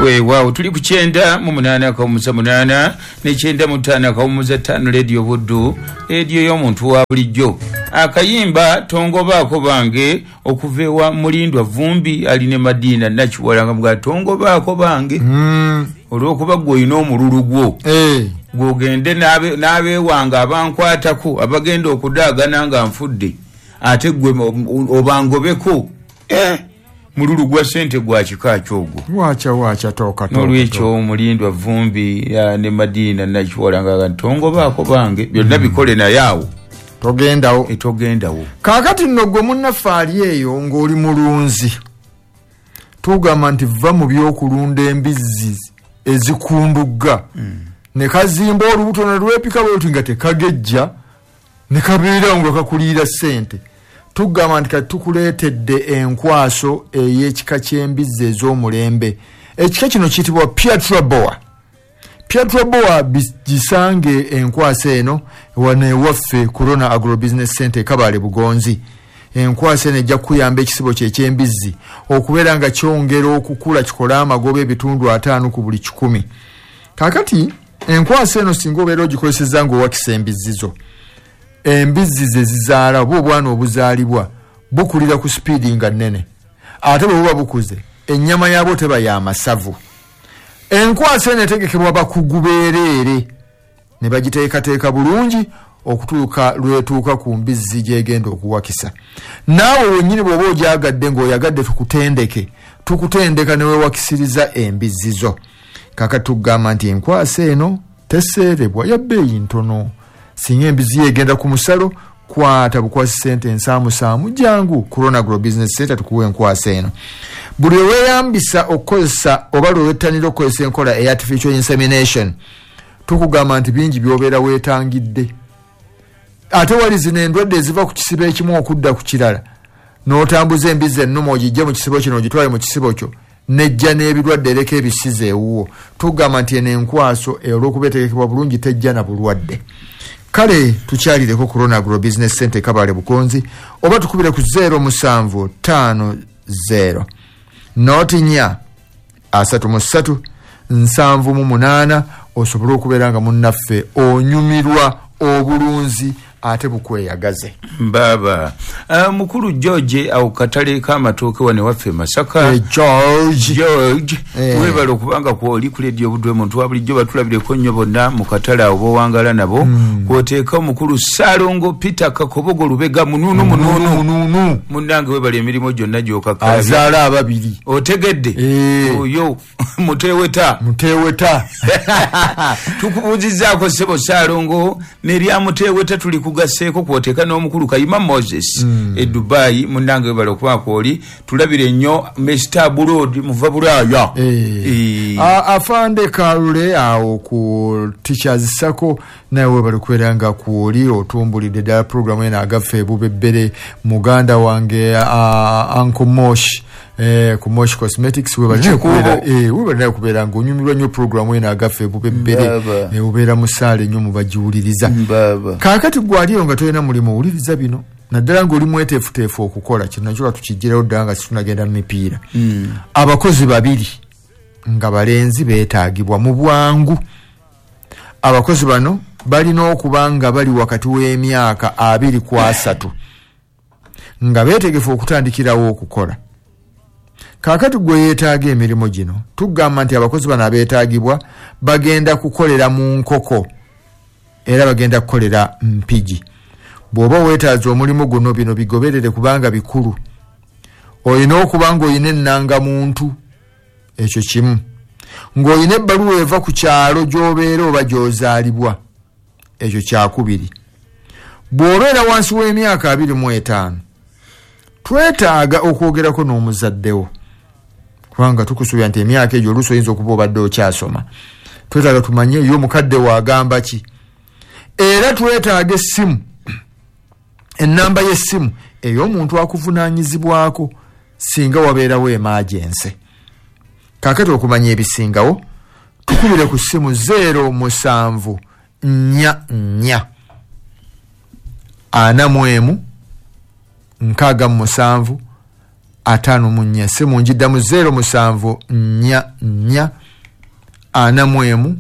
Weewaawo, tuli ku 98.8 ne 95.5 Radio Buddu, rediyo y'omuntu wa bulijjo. Akayimba tongobaako bange okuva ewa Mulindwa Vumbi ali ne Madina Nakiwala nga muga tongobaako bange olw'okuba gwe olina omululu gwo gwogende n'abeewanga abankwatako abagenda okudaagana nga nfudde, ate gwe obangobeko mululu gwa sente gwa kika kyogwo. Wacha toka. N'olwekyo Mulindwa Vumbi ne Madina Nakiwala nga tongobaako bange byonna bikole naye awo togendawo. Togendawo. Kaakati nno gwe munnaffe ali eyo ng'oli mulunzi, tugamba nti va mu by'okulunda embizzi ezikundugga ne kazimba olubuto ne lwepika bwe nga tekagejja ne kabeera nga kakuliira ssente. Tugamba nti kati tukuleetedde enkwaso ey'ekika ky'embizzi ez'omulembe. Ekika kino kiyitibwa Piatraboa. Piatraboa gisange enkwaso eno wano ewaffe Corona Agro Business Center Kabale Bugonzi. Enkwaso eno ejja kuyamba ekisibo kye eky'embizzi okubeera nga kyongera okukula kikole amagoba 5% ku buli 100. Kaakati enkwaso eno singa obeera ogikozesezza ng'owakisa embizzi zo, embizzi ze zizaala oba obwana obuzaalibwa bukulira ku sipiidi nga nnene, ate bwe buba bukuze ennyama yaabwo teba ya masavu. Enkwaso eno etegekebwa bakugu beereere ne bagiteekateeka bulungi okutuuka lwetuuka ku mbizzi gy'egenda okuwakisa. Naawe wennyini bw'oba ogyagadde ng'oyagadde tukutendeka ne weewakisiriza embizzi zo. Kaakati tugamba nti enkwaso eno teseerebwa, ya bbeeyi ntono. Singa embizzi egenda ku musalo, kwata bukwasi sente ensaamusaamu, jangu Corona Agro Business Center tukuwe enkwaso eno. Buli lwe weeyambisa okukozesa oba lwe wettanira okukozesa enkola eya artificial insemination, tukugamba nti bingi by'obeera weetangidde. Ate wali zino endwadde eziva ku kisibo ekimu okudda ku kirala, n'otambuza embizzi ennume ogijje mu kisibo kino ogitwale mu kisibo kyo, nejja n'ebirwadde ereka ebisize ewuwo. Tugamba nti eno enkwaso olw'okuba etegekebwa bulungi tejja na bulwadde. Kale tukyalireko Corona Agro Business Center Kabale Bukonzi oba tukubire ku 0750 04 33 78 osobole okubeera nga munnaffe onyumirwa obulunzi ate bukweyagaze. Mbaba mukulu George awo katale k'amatooke wano waffe Masaka. George webale okubanga kwoli ku Radio Buddu omuntu wa bulijjo batulabireko nnyo bonna mu katale awo bowangala nabo. Kwoteeka omukulu Ssalongo Peter Kakobogo Lubega mununu munnange webale emirimu gyonna gy'okakkalabya. Azaala ababiri. Otegedde oyo muteweta. Tukubuuzizzaako ssebo Ssalongo n'erya muteweta tuli kugasseeko kwoteeka n'omukulu Kayima Moses e Dubai munnange webale okuba kwoli tulabire nnyo Mr. Abroad muva Bulaaya. Afande Kalule awo ku Teachers Sacco naye webale kubeera nga kwoli otumbulidde ddala programu eno agaffe ebubebbere. Muganda wange Uncle Mosh ku Mosh Cosmetics webale naye kubeera nga onyumirwa nnyo programu eno agaffe ebubebbere, obeera musaale nnyo mubagiwuliriza. Kaakati gwe aliyo nga tolina mulimu owuliriza bino, naddala ng'oli mweteefuteefu okukola kino nakyo katukiggyirawo ddala nga situnagenda mu mipiira. Abakozi babiri nga balenzi beetaagibwa mu bwangu. Abakozi bano balina okuba nga bali wakati w'emyaka 20 ku 30 nga beetegefu okutandikirawo okukola. Kaakati gwe yeetaaga emirimu gino, tugamba nti abakozi bano abeetaagibwa bagenda kukolera mu nkoko era bagenda kukolera Mpigi. Bw'oba weetaaza omulimu guno, bino bigoberere kubanga bikulu. Olina okuba ng'olina ennangamuntu, ekyo kimu, ng'olina ebbaluwa eva ku kyalo gy'obeera oba gy'ozaalibwa, ekyo kyakubiri. Bw'obeera wansi w'emyaka 25, twetaaga okwogerako n'omuzaddewo, kubanga tukusuubira nti emyaka egyo oluusi oyinza okuba obadde okyasoma. Twetaaga tumanye ye omukadde waagamba ki. Era twetaaga essimu, ennamba y'essimu ey'omuntu akuvunaanyizibwako singa wabeerawo emergency. Kaakati okumanya ebisingawo tukubire ku ssimu 07 44 41 67 54. Essimu njiddamu 0744 41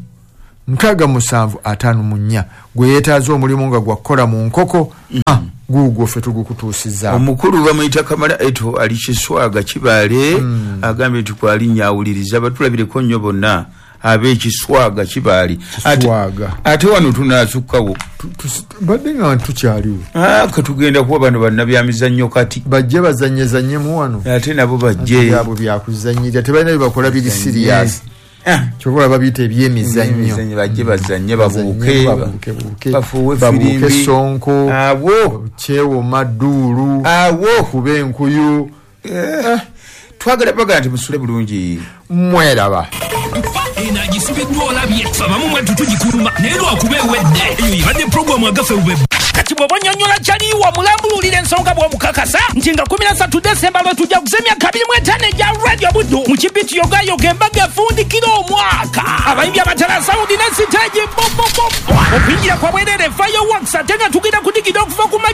67 54. Gwe yeetaaza omulimu nga gwakukola mu nkoko, guugwo ffe tugukutuusizza. Omukulu bamuyita Kamala Eto, ali Kiswaga Kibaale, agambye nti kwalinnya awuliriza. Batulabireko nnyo bonna ab'Ekiswaga Kibaale. Ate wano tunaasukkawo. Badde nga tukyaliwo. Katugenda kuba bano bannabyamizannyo kati. Bajje bazanyezanyemu wano. Ate nabo bajje. Byabwe byakuzanyirira, tebalina bye bakola biri serious. Kyova babiyita ebyemizannyo. Bajje bazanye, babuuke, bafuuwe firimbi, sonko, awo kyewoma dduulu, awo kuba enkuyu. Twagala baga nti musule bulungi. Mweraba. Eno agisibiddwa olabye abamu mwattu tugikuluma naye lwakuba ewedde. Eyo ebadde puroguramu agaffe bube. Kati bw'oba onnyonnyola kyaliwa mulambululira ensonga bw'omukakasa nti nga 13 Desemba lwe tujja kuza emyaka 25 egya Radio Buddu mu kipiti yogayoga embaga efundikira omwaka. Abayimbi abatala sawundi ne siteegi bobobobo. Okuyingira kwa bwereere fireworks ate nga tugenda kudigida okuva ku